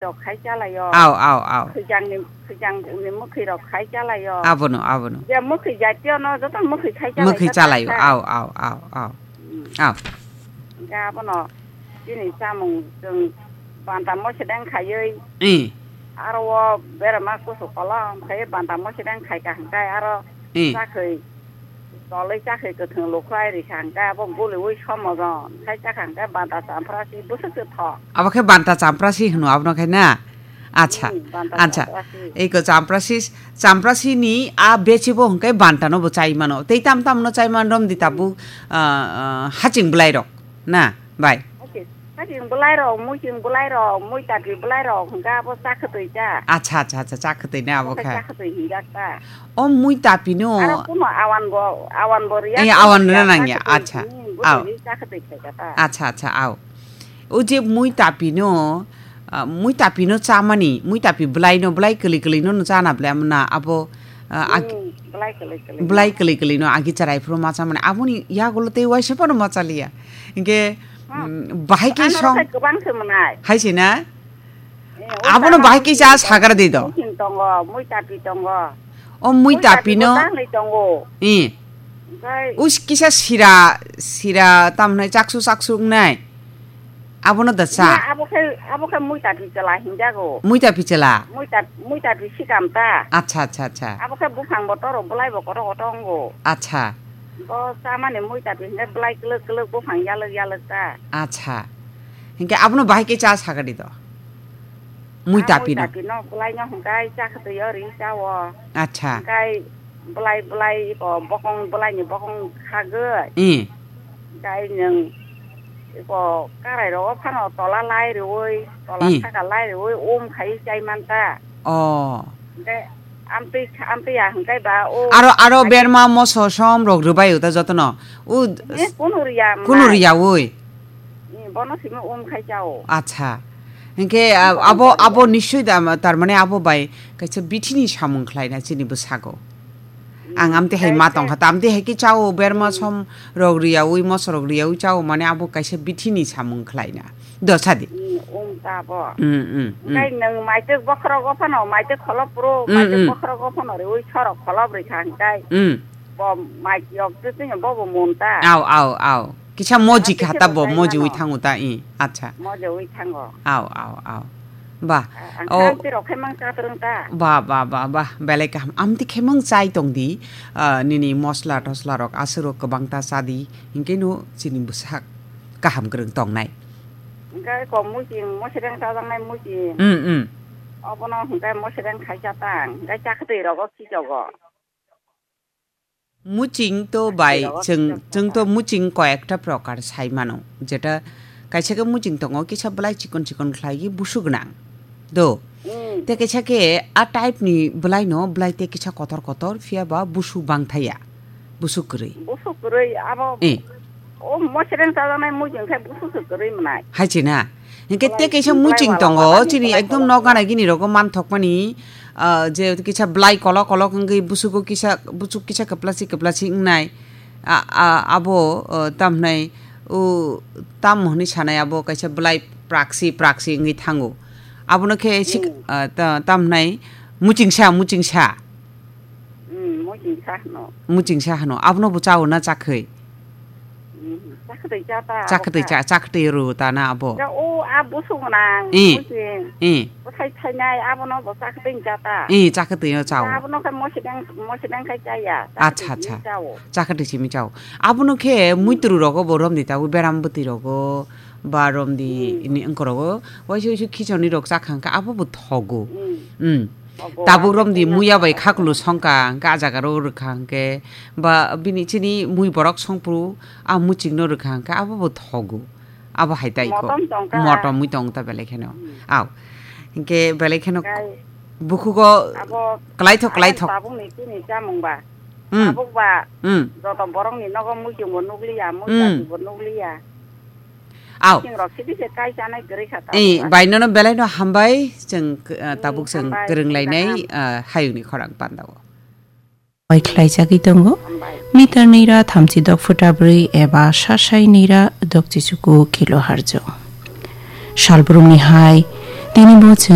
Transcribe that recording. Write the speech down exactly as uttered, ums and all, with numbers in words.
rok khai chalaio. Au, au, au. Khwijangni, khwijangni mwkhwi rok khai chalaio. Abono, abono. Je mwkhwi jatiyo no joto mwkhwi khai chalaio. Mwkhwi chalaio. Au, au, au, au. Mm. Au. Hingke abono chini chamung chwng banta mosedeng khaiwi. Eh. Aro o berama kusu kolam khai banta mosedeng khai ka hingke aro Eh. chakhwi Tolwi chakhe kwthwng lukhwlai rikha hwnkhe abo goliwi somojon khai chakha hwnkhe banta champrasi bwswk se tho. Abo khe banta champrasi hwno abono khe na? Acha, Hmm, banta acha. Champrasi. Eko champrasi, champrasi ni a bechibo hwnkhe banta no bo chai mano. Tei tam tam no chai man romdi tabuk, Hmm. ah, ah, haching bwlai rok na, bai? Haching, haching bwlai rok, muiching bwlai rok, muitapi bwlai rok hwnkhe abo chakhwtwi cha. Acha, acha, acha, chakhwtwi na abo Abo khe khe. Chakhwtwi hinjak ta. O mui tapi no. Aro kuno awan bo, awan bo riya. Eh, awan riya nang ya, acha. Au. Acha, acha, au. O je mui tapi no, ah, mui tapi no chamani, mui tapi bwlai no, bwlai kwlwi kwlwi no, no chana bwlai amna abo, ah, ag-, Hmm, bwlai kwlwi kwlwi. Bwlai kwlwi kwlwi no agi charai phuru ma chamani. Aboni yagulo tei waisa phano ma chaliya. Hingke, Hmm. mm, bahai ke Ano song. Kwbang se mwnai. Hai se na? Eh, Abono bahai kisa sagar di do. Muiching tongo, muitapi tongo. O muitapi no. Muitapi bo tanglai tongo. Eh. Omokai Us kisa sira, sira tamnai chaksu chaksu wngnai. Abono da cha. Abo khe, abo khe muitapi chela hinjago. Muitapi chela. Muita, muitapi sikam ta. Acha, acha, acha. Abo khe buphang bo toro bwlai bo koto koto wngo. Acha. Bo chamani muitapi hinjak bwlai kwlwk kwlwk buphang yalwk yalwk ta. Acha. Hingke abono bahai ke cha sagar di do. Mui tapi no. Mui tapi no, bwlai no hingkai chakhwtwi o ri chao. Acha. Hingkai bwlai, bwlai iko bokong, bwlai ni bokong khagwi. Eh. Hingkai nwng iko karai rogo phano tola lai riwi, tola Hmm. saka lai riwi, um khai chai man ta. Oh. Hingkai amtwi, amtwi ya hingkai ba o. Aro, aro berma moso som rok rwbai uta jotono. U Eh, kunu riya kunu mwnai. Riyawi. Eh, bono simi um khai chao. Acha. Hingke, ah, abo, abo nischoi da, tar mane abo bai kaisa bithini samung khlaina chini bwsago. Ang amte hai ma tongkha, ta amte hai ke chao, berma som rok riyawi, moso rok riyawi chao, mane abo kaisa bithini samung khlaina. Do sadi. Hmm, um ta bo. Hmm, hmm, hmm. Hingkai nwng maitek bokhorok o phano, maitek kholop pro, Hmm, maitek hmm. Bokhorok o phano riwi sorok kholop rikha hingkai. Hmm. Bo mai yok twi twi bo bo mun ta. Au, au, au. Kisa moji kha ta bo, moji wi thango ta, i. Acha. Moji wi thango. Au, au, au. Ba. Ang O. Khamti rok khe mang cha twrwng ta. Ba, ba, ba, ba. Belai kaham. Amti khe mang chai tong di. Ah, nini mosla tosla rok aswk rok kwbang ta cha di. Hinkhe no chini bwsak kaham kwrwng tongnai. Hingke ko muiching, mosreng chajaknai muiching. Mm, mm. Obono hingke mosreng khai cha tang. Hingke chakhwtwi rogo khichogo. Muching to bai chwng, chwng to muching koyekta prokar sai mano, jeta kaisa khe muching tongo, kisa bwlai chikon chikon khlai busuk nang do. Mm. Te kaisa khe a type ni bwlai no, bwlai te kisa kotor kotor, phiya ba busuk bang thaya, busuk kwrwi. Busuk kwrwi abo. Eh. O mosreng chajaknai muiching khe busuk se kwrwi mwnai. Hai china. Hingke te kaisa muching tongo, chini ekdom nok gana gini rogo manthokmani, ah, je kisa bwlai kolok kolok wngwi busugo kisa, busuk kisa kwplasi kwplasi wngnai. A, a, abo, ah, tamhnai, o, tam hwnwi sanai abo kaisa bwlai praksi praksi wngwi thango. Abono khe sik-, ah, ta-, tamhnai muchingsa, muchingsa. Hmm, muchingsa hwno. Muchingsa hwno. Abono bo chao na chakhwi? Hmm, chakhwtwi cha ta, chakhwtwi cha, chakhwtwi rw ta na abo? Ya, o, a busuk gwnang, eh, muching. Eh. Bwthai thainai, abono bo chakhwtwi cha ta. Eh, chakhwtwi no chao. Abono khe mosideng, mosideng khai chaya. Acha, acha. Chakhwtwi simi chao. Abono khe muitru rogo bo romdi tabuk beram bwtwi rogo. Ba romdi ini wngkorogo, waisa waisa khichoni rok chakha hwnkhe abo bo thogo. Hmm. Tabuk romdi muya bai khakulu songkha hwnkhe a jaga ro rwkha hwnkhe ba bini chini mui borok songphuru a muchingno rwkha hwnkhe abo bo thogo. Abo hai tai kho. Motom tongkha. Motom mui tong ta belai kheno. Hmm. Au. Hwnkhe belai kheno bukhugo abo klaithok, klaithok. Tabukni chini chamung ba. Hmm. Tabuk ba. Hmm. Joto borokni nogo muchung bo nukliya, hmm, muchung bo nukliya. Au. Sing rok sidi se kai chanai kwrwi kha tabuk. Eh, bai nono belai no hambai, chwng, uh, tabuk chwng kwrwng lainai, uh, hayungni khorang pandao. Bai khlai chagwi tongo. Hambai. Meter nira thamchi dok phuta bwrwi eba sasai nira dok chichuku kilo harjo. Salbrumni hai, tini bo chwng